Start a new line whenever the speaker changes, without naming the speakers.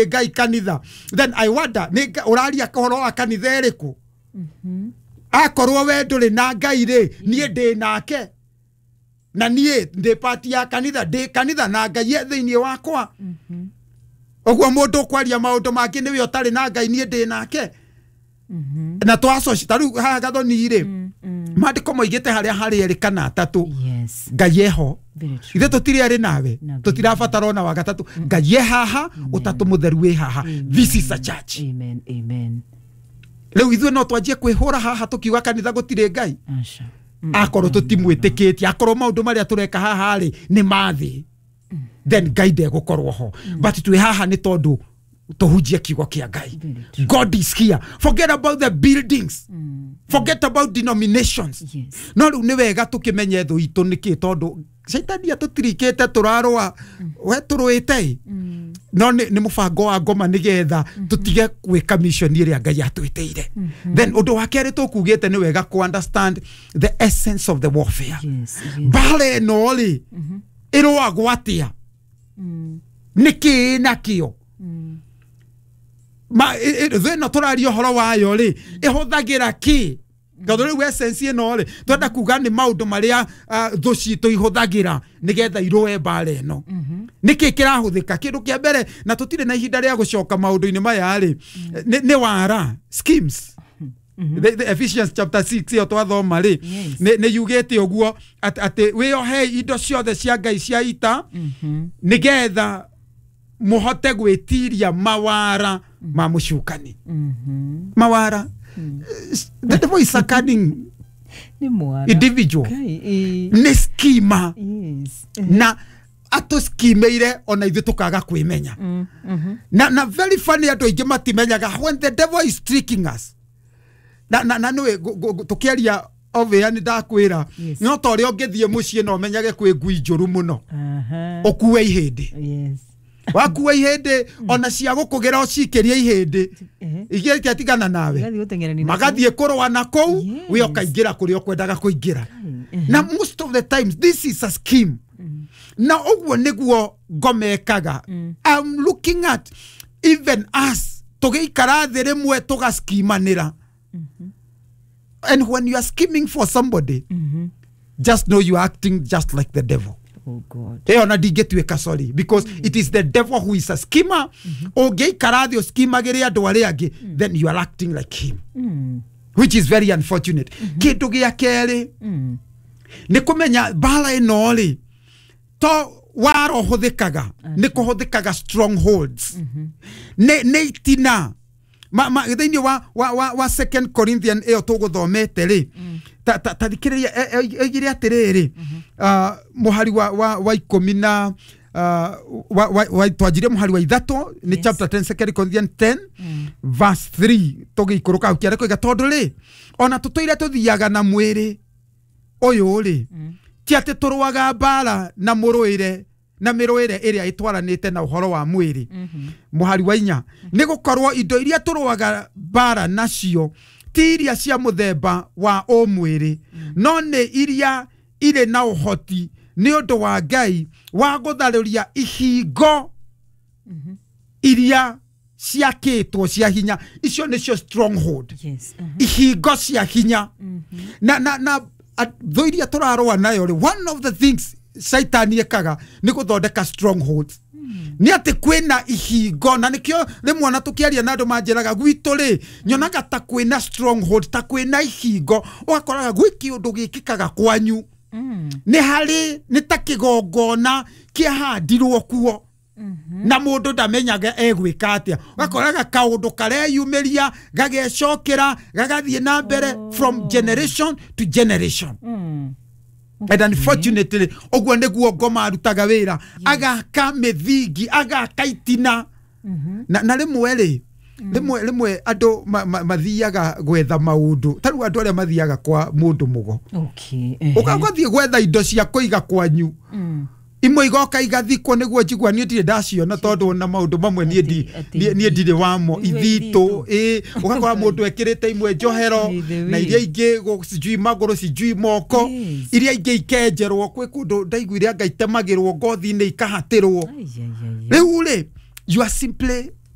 Ngai kanitha, then I wonder nĩ ũraria ũhoro wa kanitha ĩrĩkũ? Akorwo we ndũrĩ na Ngai rĩ, niĩ ndĩ nake, na niĩ ndĩ part ya kanitha, ndĩ kanitha na Ngai e thĩinĩ wakwa. Ũguo mũndũ ũkwaria maũndũ mangĩ nĩwe ũtarĩ na Ngai, niĩ ndĩ nake. Na twacoci ta rĩu haha Gathoni rĩ, maandĩko moigĩte harĩa harĩ erĩ kana atatũ, Ngai eho.
Very true.
Ithe tũtirĩ erĩ nawe,
Na Ngai.
Tũtirabatara ona wa gatatũ. Ngai e haha, Ũtatũ Mũtheru wĩ haha. This is a church.
Amen. Amen.
Rĩu ithuĩ no twanjie kwĩhũra haha tũkiuga kanitha gũtirĩ Ngai?
Asha.
Akorwo tũtimwĩtĩkĩtie, akorwo maũndũ marĩa tũreka haha rĩ nĩ mathĩ, then Ngai ndegũkorwo ho. But twĩ haha nĩ tondũ tũhunjie kiugo kĩa Ngai.
Very true.
God is here. Forget about the buildings, forget about denominations. No rĩu nĩ wega tũkĩmenye thũ itũ nĩkĩ, tondũ caitani atũtirikĩte tũrarũa we tũrũĩte ĩ. No nĩ mũbango wa ngoma nĩgetha tũtige gwĩka mission ĩrĩa Ngai atwĩtĩire. Then ũndũ wa kerĩ tũkugĩte, nĩ wega ku understand the essence of the warfare. Mbara ĩno rĩ, ĩrũagwo atĩa? Nĩ kĩĩ nakĩo? Ma thũ ĩno tũraria ũhoro wayo rĩ, ĩhũthagĩra kĩ? Tondũ rĩu essence ĩno rĩ, twenda kuga nĩ maũndũ marĩa thũ citũ ihũthagĩra nĩgetha irũe mbara ĩno. Nĩkĩ kĩrahũthĩka? Kĩndũ kĩa mbere, na tũtirĩ na ihinda rĩa gũcoka maũndũ-inĩ maya rĩ, nĩ wara, schemes. The Ephesians chapter 6 ĩyo twathoma rĩ, nĩ yugĩte ũguo atĩ wĩyohei indo ciothe cia Ngai cia ita nĩgetha mũhote gwĩtiria mawara ma mũcukani. Mawara, the devil is a cunning
Nĩ mwara.
individual.
Kai, ĩ.
Nĩ schema. Na atũskimeire ona ithuĩ tũkaga kwĩmenya. Na very funny, andũ aingĩ matimenyaga when the devil is tricking us. Na nĩwe tũkĩaria obĩa nĩ ndakwĩra, no ta ũrĩa ũngĩthiĩ mũciĩ na ũmenyage kwĩ ngui njũru mũno, ũkue ihĩndĩ. Wakua ihĩndĩ, ona cia gũkũgĩra ũcikĩrie ihĩndĩ, igĩte tigana nawe.
Igathiĩ gũteng'erania na
Magathiĩ kũrũa na kũu, we ũkaingĩra kũrĩa ũkwendaga kũingĩra. Na most of the times this is a scheme, na ũguo nĩguo ngomekaga. I'm looking at even us tũgĩikara thĩ rĩmwe tũgaskimanĩra, and when you are scheming for somebody, just know you are acting just like the devil.
Oh God.
Ĩyo na ndingĩtuĩka sorry, because it is the devil who is a schemer. Ũngĩikara thĩ ũskimagĩre andũ arĩa angĩ, then you are acting like him, which is very unfortunate. Kĩndũ gĩa kerĩ nĩ kũmenya mbara ĩno rĩ, to wara ũhũthĩkaga, nĩ kũhũthĩkaga strongholds, nĩ itina thĩinĩ wa Second Corinthian ĩyo tũgũthomete rĩ, ta thikĩrĩria, oigire atĩrĩrĩ, mũhari wa 10 na twanjirie mũhari wa 3 nĩ chapter 10, Second Corinthian 10 verse 3, tũgĩikũrũka hau kĩarĩ koiga, tondũ rĩ, ona tũtũire tũthiaga na mwĩrĩ ũyũ rĩ, ti atĩ tũrũaga mbara na mũrũĩre na mĩrũĩre ĩrĩa ĩtwaranĩte na ũhoro wa mwĩrĩ. Mũhari wa 4, nĩ gũkorwo indo iria tũrũaga mbara nacio ti iria cia mũthemba wa ũmwĩrĩ, no nĩ iria irĩ na ũhoti nĩ ũndũ wa Ngai wa gũtharũria ihingo iria ciakĩtwo cia hinya. Icio nĩcio stronghold, ihingo cia hinya. Na thũ iria tũrarũa nayo rĩ, one of the things Shaitani ekaga nĩ gũthondeka strongholds, nĩ atĩ kwĩna ihingo. Na nĩkĩo rĩmwe ona tũkĩaria na andũ manjĩraga gwitũ rĩ, nyonaga ta kwĩna stronghold, ta kwĩna ihingo, ũgakoraga gwĩ kĩũndũ gĩkĩkaga kwanyu, nĩ harĩ nĩ ta kĩgongona kĩahandirwo kuo na mũndũ ndamenyaga egwĩka atĩa. Ũgakoraga kaũndũ kareyumĩria, gagecokera, gagathiĩ na mbere from generation to generation. And unfortunately ũguo nĩguo ngoma arutaga wĩra, agaka mĩthingi, agaka itina. Na rĩmwe rĩ, rĩmwe andũ mathiaga gwetha maũndũ, ta rĩu andũ arĩa mathiaga kwa mũndũ mũgo, ũgathiĩ gwetha indo cia kũiga kwanyu, imwe igoka igathikwo nĩguo njigua. Niĩ ndirĩ ndaciona, tondũ ona maũndũ mamwe niĩ niĩ ndirĩ wamo.
Nĩguo.
Ithitũ ĩ, ũgakora mũndũ ekĩrĩte imwe njohero
By the
na
way.
iria ingĩ sijui magũrũ, sijui moko, iria ingĩ ikenjerwo kwĩ kũndũ ndaiguire anga itemagĩrwo ngothi-inĩ, ikahatĩrwo.
Ai, ai, ai, ai.
Rĩu rĩ, you are simply